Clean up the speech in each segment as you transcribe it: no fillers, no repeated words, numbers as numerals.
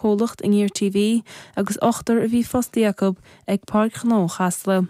Comhlacht Aniar TV agus ochtar a bhí fostaithe acu ag Páirc Ghnó Chasla.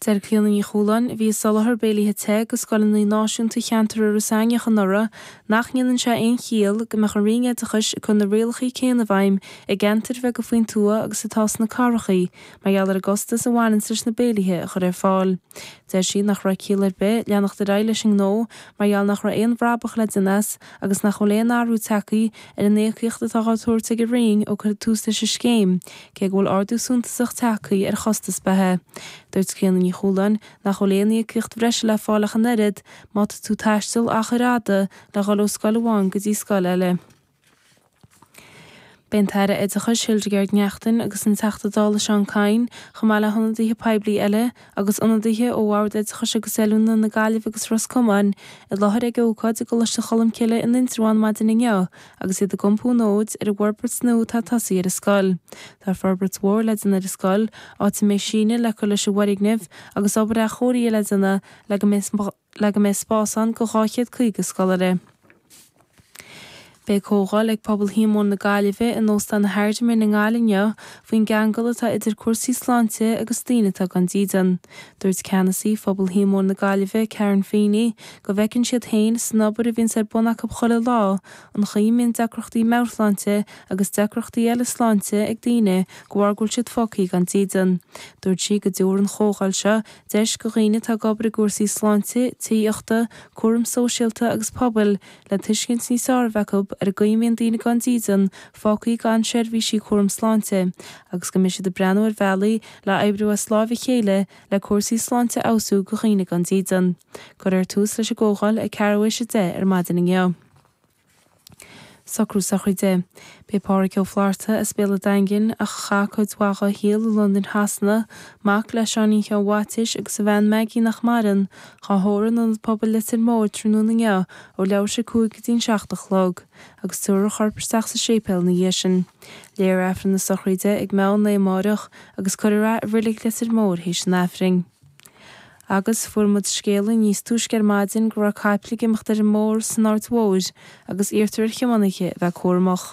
Deir Clíona Ní Chualáin, a bhí ag soláthar béilithe te go scoileanna náisiúnta cheantar Iorras Aithneach anuraidh, nach ndéanann sé aon chiall go mbeadh an Roinn Oideachais ag cur na rialacha céanna i bhfeidhm i gceantair bheaga faoin tuath agus atá sna cathracha mar gheall ar an gcostas a bhaineanns leis na béilithe a chur ar fáil. Deir sí nach raibh ciall ar bith leanacht ar aghaidh leis an ngnó mar gheall nach raibh aon bhrabach le déanamh as agus nach bhfuil aon athrú tagtha ar an íocaíocht atá á tabhairt ag an Roinn ó cuireadh tús leis an scéim, cé go bhfuil ardú suntasach tagtha ar chostas beatha. Dúirt Clíona Ní Chualáin nach bhfuil aon íocaíocht bhreise le fáil ach an oiread má tá tú ag taisteal achair fhada le dhul ó scoil amháin go dtí scoil eile. Beidh an tAire Oideachais Hildegarde Naughton agus an Teachta Dála Seán Kyne, chomh maith le hionadaithe poiblí eile agus ionadaithe ó Bhord Oideachais agus Oiliúna na Gaillimhe agus Ros Comáin, i láthair ag ócáid i gColáiste Cholmcille in Indreabhán maidin inniu agus iad ag iompú an fhóid ar an bhforbairt nua atá tosaithe ar an scoil. Tá forbairt mhór le déanamh ar an scoil, áit a mbeidh síneadh le cur leis an bhfoirgneamh agus obair athchóirithe le déanamh le go mbeidh le go mbeidh spás ann go 250 scoláire. Beidh comhdháil ag Pobal Shíomóin na Gaillimhe in Óstán Hardiman i nGaillimh inniu faoin gceangal atá idir cúrsaí sláinte agus daoine atá gan dídean. Dúirt ceannasaí Phobal Shíomóin na Gaillimhe, Karen Feeney, go bhfeiceann siad féin san obair a bhíonns ar bun acu chuile lá, an chaoi a mbíonn deacrachtaí meabhairshláinte agus deacrachtaí eile sláinte ag daoine de bharr go bhfuil siad fágtha gan dídean. Dúirt sí go dtabharfaidh an chomhdháil seo Deis go dhaoine atá ag obair i gcúrsaí sláinte, tithíochta, cúram sóisialta agus pobail le tuiscint níos fearr a bheith acu ar an gcaoi a mbíonn daoine gan dídean fágtha gan seirbhísí cúram sláinte agus go mbeidh siad ag breathnú ar bhealaí le oibriú as láimh a chéile le cúrsaí sláinte a fheabhsú go dhaoine gan dídean. Cuirfear tús leis an gcomhdháil ag ceathrú théis 10 ar maidin inniu. Socrú sochraide. Beidh Pádhraic Ó Flatharta as Béal an Daingin, ach a chaith cuid mhaith dá shaol i Londain Shasana, mac le Seáinín Sheáin Mhaitiais agus a bhean Maggie nach maireann, dhá thórramh in Ionad Pobail Leitir Móir tráthnóna inniu ó leathuair théis 5 go dtí an 7 a chlog, agus tabharfar a chorp isteach sa séipéal ina dhiaidh sin. Léifear Aifreann na sochraide ag meán lae amáireach agus cuirfear é i Reilig Leitir Móir théis an Aifrinn. Agus fuair muid scéala níos túisce ar maidin go raibh caiple ag imeacht ar an mbóthar san Aird Mhóir agus iarrtar ar thiománaithe a bheith cúramach.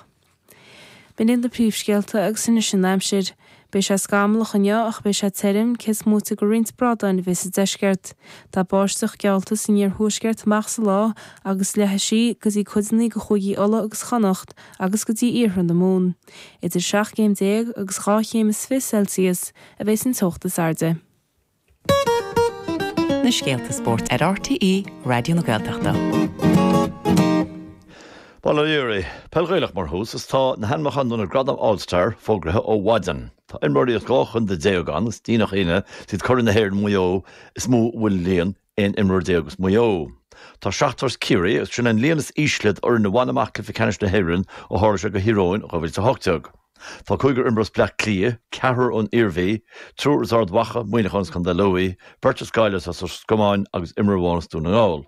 B'in iad na príomhscéalta agus anois an aimsir. Beidh sé scamallach inniu ach beidh sé tirim, cé is móite de roinnt bradáin a bheith sa deisceart. Tá báisteach geallta san iarthuaisceart amach sa lá agus leathfaidh sí go dtí codanna de chúigí Uladh agus Chonnacht agus go dtí iarthar na Mumhan. Idir 17 céim agus 2 chéim is 20 Celsius a bheidh an teocht is airde. Na scéalta spóirt ar RTÉ Raidió na Gaeltachta. Bail ó Dhia oraibh. Peil Ghaelach mar thús is tá na hainmneacha do na Gradaim All Star fógraithe ó mhaidin. Tá imreoirí as 12 chontae ann is ní nach ionadh is iad curaidh na hÉireann Maigh Eo is mó a bhfuil líon 11 imreoir as Maigh Eo. Tá seachtar as Ciarraí agus sin an líon is ísle d'fhoireann a bhain amach cluiche ceannais na hÉireann ó tharla sé go Thír Eoghain 2018. Tá cúigear imreoir as Bleá Cliath, ceathrar ón Iarmhí, triúr as Ard Mhacha, Muineachán agus Contae Lú, beirt as Gaillimh agus as Ros Comáin agus imreoir amháin as Dún na nGall.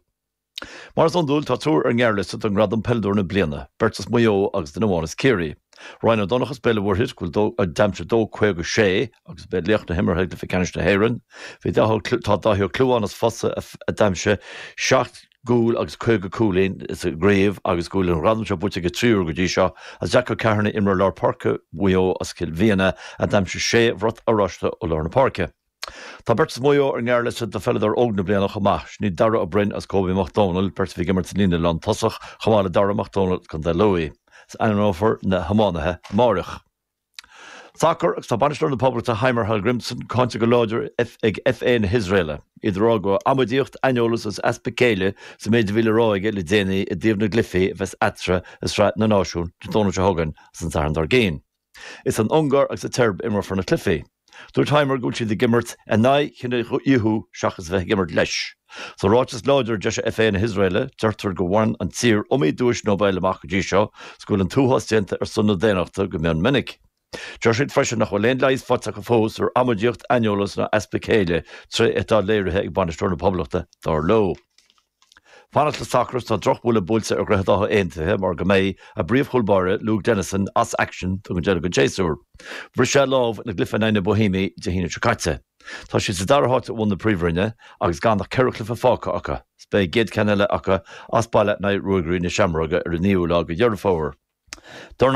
Mar is iondúil, tá triúr ar an ngearrliosta don ngradam Peileadóir na Bliana, beirt as Maigh Eo agus duine amháin as Ciarraí. Ryan Ó Donnchadha as Béal an Mhuirthead, go bhfuil a d'aimsigh 2.56 agus ba é laoch na himeartha i gcluiche ceannais na hÉireann. Bhí Tá Dáithí Ó Clúmháin as Fosa a d'aimsigh 7 gcúl agus 50 cúilín sa gcraobh agus go bhfuil an gradam seo buaite aige 3 uair go dtí seo, agus Jack Ó Ceatharnaigh, imreoir lár páirce Mhaigh Eo as Cill Mhiana, a d'aimsigh sé bhrat oráiste ó lár na páirce. Tá beirt as Maigh Eo ar an ngearrliosta do Pheileadóir Óg na Bliana chomh maith, sin iad Darragh Ó Broin agus Kobe Mac Dónaill, beirt a bhí ag imirt sa líne lántosach, chomh maith le Dara Mac Dónaill as Contae Lú. Is ainmneofar na hiománaithe amáireach. Sacar agus tá bainisteoir na Poblachta Heimir Hallgrímsson cáinte go láidir ag FA na hIosraela. Iad ag rá go raibh amaidíocht, aineolas agus easpa céille sa méid a bhí le rá aige le déanaí i dtaobh na gcluichí a bheas eatarthu i Sraith na Náisiún Dé Domhnaigh seo chugainn agus an Satharn dár gcionn. Is san Ungáir agus sa tSeirbia a imreofar na cluichí. Dúirt Heimir go bhfuil siad ag imirt in aghaidh chinedhíothú seachas a bheith ag imirt leis. Sa ráiteas láidir a d'eisigh FA na hIosraela, deirtear gur bhain an tír iomaí duais Nobel amach go dtí seo is go bhfuil an t-uafás déanta ar son na daonnachta go mion minic. Deir siad freisin nach bhfuil aon leigheas faighte acu fós ar amaidíocht, aineolas ná easpa céille, tréithe atá léirithe ag bainisteoir na Poblachta, dar leo. Fanacht le sacar is tá drochbhuille buailte ar Dhroichead Átha Aontaithe mar go mbeidh a bpríomhchúl báire, Luke Dennison, as aicsean don deireadh den tséasúr. Bhris sé a lámh ina gcluiche in aghaidh na Boihéimigh Dé hAoine seo caite. Tá siad sa dara háit i mbun na Príomhroinne agus gan ach 4 chluiche fágtha acu. Is beidh a gcéad cheann eile acu as baile in aghaidh Ruagairí na Seamróige ar an 9ú lá de Dheireadh Fómhair. Dornálaí.